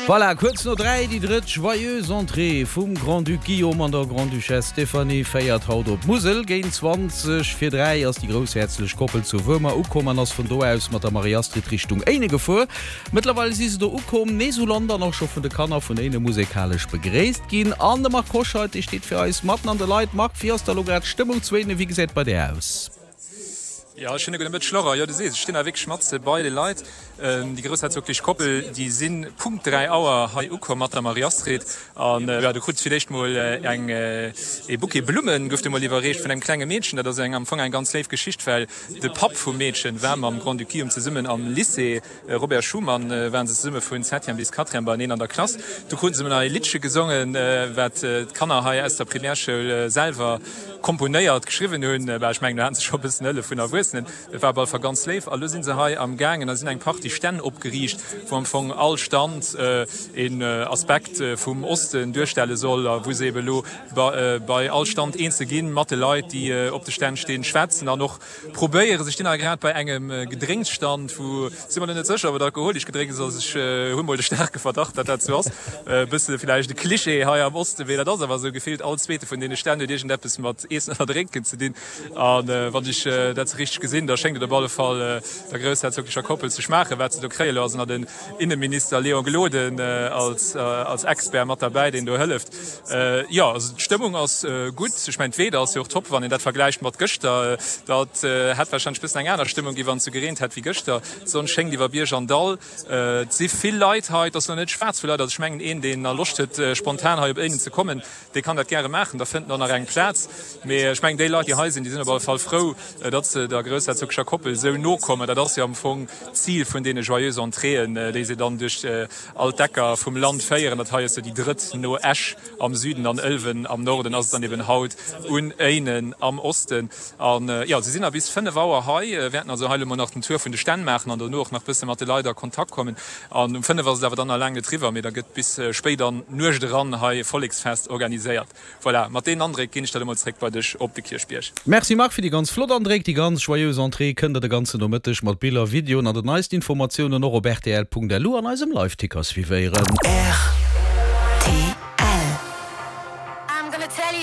Voilà, kuerz no 3, déi drëtt Joyeuse Entrée vum Grand-Duc Guillaume an der Grande-Duchesse Stéphanie féiert haut op d'Musel. Géint 20 vir 3 ass déi groussherzlech Koppel zu Wuermer ukomm an ass vun do aus mat der Marie-Astrid Richtung Éinen gefuer. Mëttlerweil si se do ukomm, nees u Land an och scho vun de Kanner vun Éinen musekalesch begréisst ginn. An de Marc Hoscheid, dee steet fir eis matten an de Leit. Marc, wéi ass da lo grad d'Stëmmung zu Éinen? Wéi gesäit et bei där aus? Jo, schöne gudde Mëtteg Laurent. Jo, du sees, ech stinn hei wierklech matze bei de Leit. Déi groussherzoglich Koppel, déi si Punkt 3 Auer hei ukomm mat der Marie-Astrid. An jo, du krut fir d'éischt mol eng ee Bouquet Blummen gouf dir mol iwwerreecht vun engem klenge Meedchen. Dat ass eng am Fong eng ganz léif Geschicht, well de Papp vum Meedchen war mam Grand-Duc Guillaume zesummen am Lycée Robert Schuman, waren se zesumme vun Septième bis Quatrième beieneen an der Klass. Du kruten se mol nach ee Liddche gesongen, wat d'Kanner hei aus der Primärschoul selwer komponéiert, geschriwwen hunn. Bah, ech mengen, do haten se scho e bëssen Hëllef vun Erwuessenen. Et war op alle Fall ganz léif. A lo si se hei am gaangen a sinn eng Partie Stänn opgeriicht, wou am Fong all Stand een Aspekt vum Osten duerstelle soll a wou se ebe lo bei all Stand eenzel ginn, mat de Leit, déi op de Stänn stinn, schwätzen an och probéieren. Se stinn hei grad bei engem Gedrénksstand, wou, si mer lo net sécher, ob et alkoholesch Gedrénks ass, ech hu mol de staarke Verdacht, datt dat sou ass, e bësse villäicht e Klischee hei am Osten, mee dat ass awer esou, gefillt all zweete vun deene Stänn huet iergendeppes mat Iessen oder Drénken ze dinn. A wann ech dat sou richteg gesinn, da schéngt et op alle Fall der groussherzoglecher Koppel ze schmaachen, wat se do kréien. Elo ass nach den Inneminister Léon Gloden als Expert mat derbäi, deen do hëlleft. Jo, also d'Stëmmung ass gutt. Ech mengen d'Weeder ass jo och top, wann een dat vergläicht mat gëschter. Dat hätt warscheinlech bëssen eng aner Stëmmung gi wann et sou gereent hätt wéi gëschter. D'Sonn schéngt iwwer Bierg an Dall. Et si vill Leit hei. Et ass lo net schwaarz vu Leit. Also ech mengen een deen nach Loscht huet spontan hei op Éinen ze kommen, dee kann dat gäre maachen. Da fënnt en och nach eng Plaz. Mee ech mengen déi Leit déi hei sinn, déi sinn op alle Fall frou, datt se der groussherzogescher Koppel esou no kommen. Dat ass jo am Fong d'Zil vun deene Joyeuses Entréeën, déi se dann duerch all d'Ecker vum Land féieren. Dat hei ass jo déi drëtt no Esch am Süden an Ëlwen am Norden ass et dann eben haut un Éinen am Osten. An jo, se sinn nach bis 5 Auer hei, wäerten also hei elo mol nach den Tour vun de Stänn maachen an dono och nach bësse mat de Leit a Kontakt kommen. An um 5 ass et awer dann nach laang net riwwer, mee da gëtt bis spéit an d'Nuecht eran hei e Volleksfest organiséiert. Voilà, mat deenen Andréck ginn ech dat emol zréck bei dech op de Kierchbierg. Merci Marc fir déi ganz flott Andréck. Déi ganz joyeuse Entrée kënnt der de ganzen Nomëtteg mat Biller, Videoen an den neisten Informatiounen och op rtl.lu an eisem Liveticker suivéieren. Rtl.